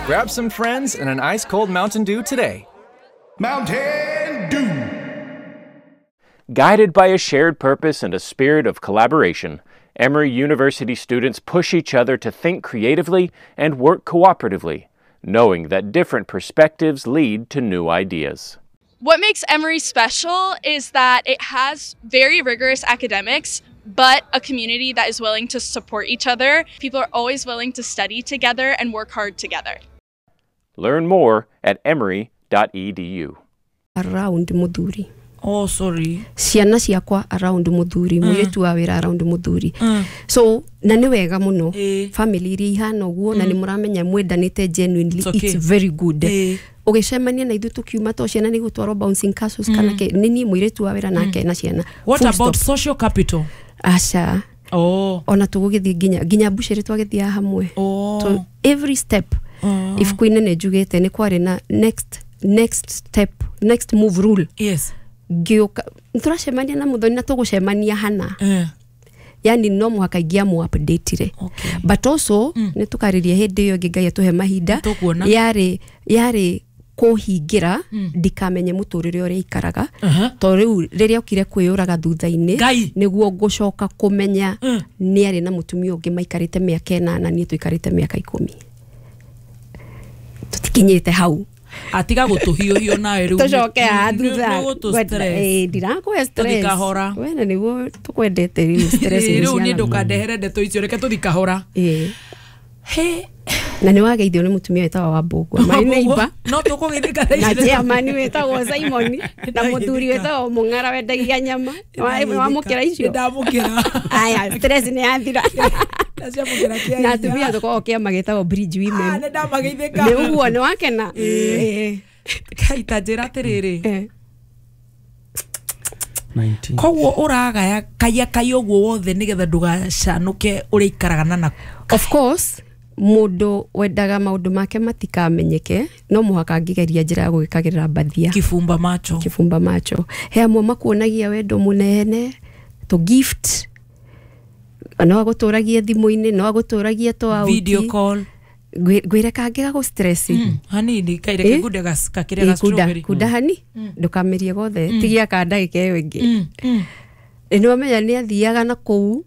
Grab some friends and an ice cold Mountain Dew today. Mountain Dew. Guided by a shared purpose and a spirit of collaboration, Emory University students push each other to think creatively and work cooperatively, knowing that different perspectives lead to new ideas. What makes Emory special is that it has very rigorous academics, but a community that is willing to support each other. People are always willing to study together and work hard together. Learn more at emory.edu. Around muthuri. Oh, sorry. Ciana ciakwa around muthuri, mũirĩtu wa wĩra around muthuri. So na nĩ wega mũno family iria ihana ũguo, na nĩ mũramenya mwendanĩte genuinely. It's okay. It's very good. Ũgĩcemania na ithuĩ tũkiuma to ciana nĩ gũtwarwo bouncing castles kana kĩ, nĩ niĩ mũirĩtu wa wĩra nake na ciana. What Full about stop. social capital? Aca. Oh. Ona tũgũgĩthiĩ nginya mbucĩrĩ twagĩthiaga hamwe. Oh. So every step ibuku-inĩ nĩ njugĩte nĩ kwarĩ na next step, next move rule. Yes. Ngĩũka tũracemania na mũthoni na tũgũcemania hana. Yani no mũhaka ingĩamũ update-ire. Okay. But also nĩ tũkarĩria hĩndĩ ĩyo ĩngĩ Ngai atũhe mahinda. Tũkuona. Yarĩ kũhingĩra ndikamenye mũtũrĩre ũrĩa ikaraga. To rĩu rĩrĩa okire kwĩyũraga thutha-inĩ Ngai. nĩguo ngũcoka kũmenya nĩ arĩ na mũtumia ũngĩ maikarĩte mĩaka 8, niĩ tũikarĩte mĩaka 10. Tũtikinyĩte hau. Atiga gũtũhiũhio nawe rĩu. Tũcoke haha thutha. Nĩ gũtũ stress. Ndirakũhe stress. Tũthi kahora. We na nĩguo tũkwendete rĩu stress nĩ Rĩu niĩ ciana. ndũkandehere ndeto icio, reke tũthi kahora. He. Na nĩ wageithio nĩ mũtumia wĩtagwo Wambũgua, my neighbor. No tũkũgeithĩka thaa Na ici. chairman wĩtagwo Simon, na mũthuri wĩtagwo Mũng'ara wendagia nyama. Wamũkĩra icio? Ndamũkĩra. Aya, stress nĩ yathira. Ndaciamũkĩra kĩa Na hinya. atumia tũkoragwo kĩama gĩtagwo Bridge Women. Ah, nĩ ndamageithĩka. Nĩ ũguo, nĩ wakena? Kai, ta njĩra atĩrĩrĩ. 19. Koguo ũragaya kaiya kai ũguo wothe nĩgetha ndũgacanũke ũrĩa ikaraga na na. Of course, mũndũ wendaga maũndũ make matikamenyeke no mũhaka angĩgeria njĩra ya gũgĩkagĩrĩra mbathia. Kibumba macho. Kibumba macho. He amwe makuonagia wendo mũnene to gift, no agũtũragie thimũ-inĩ, no agũtũragie to out. Video call. Ngwĩre kangĩ gagũ stress. Hanini kaire kĩgunde gakĩrĩa ga strawberry. Kunda hani ndũkamĩrie gothe, tigia ka ndagĩka ĩyo ĩngĩ. Nĩ wamenya nĩ athiaga na kũu,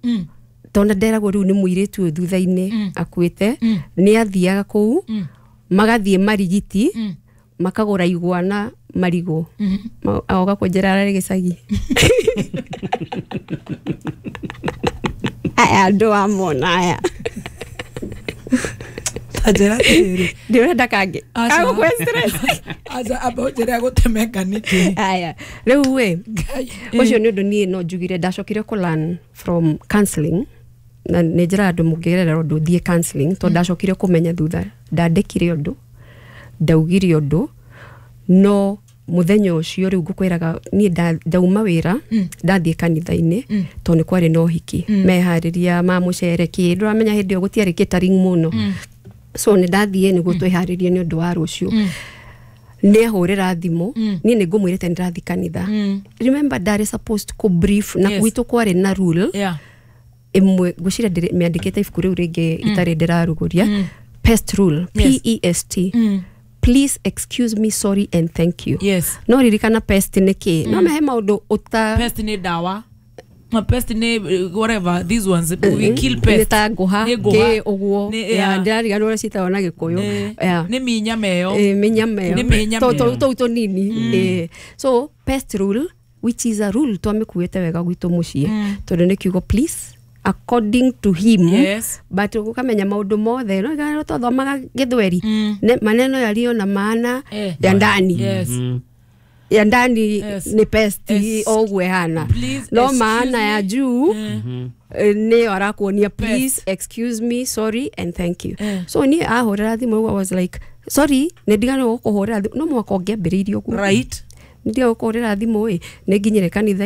tondũ nderagwo rĩu nĩ mũirĩtu ũyũ thutha-inĩ akuĩte, nĩ athiaga kũu magathiĩ marigiti, makagũra igwa na marigũ. Agoka kũnjĩra ararĩ gĩcagi. Aya andũ amona aya. Ta njĩra atĩrĩrĩ. Ndĩrenda kangĩ. Aca. Kagũkũhe stress. Aca, amba ũnjĩre agũtemeka nĩkĩ. Aya, rĩu ĩ, ũcio nĩ ũndũ niĩ no njugire ndacokire kũ learn from counseling, na nĩ njĩra andũ mũngĩgerera ũndũ thiĩ counseling, tondũ ndacokire kũmenya thutha ndandĩkire ũndũ, ndaugire ũndũ, no mũthenya ũcio rĩu ngũkwĩraga niĩ ndauma wĩra, ndathiĩ kanitha-inĩ, tondũ nĩ kwarĩ na ũhiki, meharĩria ma mũcere kĩ, ndũramenya hĩndĩ ĩyo gũtiarĩ catering mũno. So nĩ ndathiĩ nĩguo twĩharĩrie nĩ ũndũ wa rũciũ. Nĩ ahũrĩra thimũ, niĩ nĩ ngũmwĩrĩte nĩ ndĩrathiĩ kanitha. Remember ndarĩ supposed kũ brief, na gwitũ kwarĩ na rule ĩmwe, ngwĩciria mĩandĩkĩte ibuku rĩu rĩngĩ itarĩ ndĩrarugũria. Pest rule, PEST. Please excuse me, sorry and thank you. No ririkana pest nĩ kĩ? No mehe maũndũ ũta Pest nĩ ndawa. Ma pest nĩ whatever these ones we kill pest. Nĩ ta ngũha, Nĩ ngũha. kĩ ũguo. Nĩ, Yeah, yeah. ndĩrariganĩrwo ũrĩa ciĩtagwo na Gĩkũyũ. Yeah. Nĩ mĩnyama ĩyo. Mĩnyama ĩyo. Nĩ mĩnyama ĩyo. Tũu tũnini. So pest rule, which is a rule twamĩkuĩte wega gwitũ mũciĩ, tondũ nĩ kiugo please according to him. But ũkamenya maũndũ mothe no igana twathomaga gĩthweri. Maneno yaliyo na maana ya ndani. Ya ndani ni pest o ũguo ĩhana. Please No excuse maana me. ya juu, nĩyo arakuonia please excuse me, sorry and thank you. So niĩ ahũrĩra thimũ I was like sorry, nĩ ndiganĩrwo gũkũhũrĩra thimũ, no mũhaka ũngĩambĩrĩirie ũguo. Nĩ ndiganĩrwo gũkũhũrĩra thimũ ĩ, nĩ nginyire kanitha.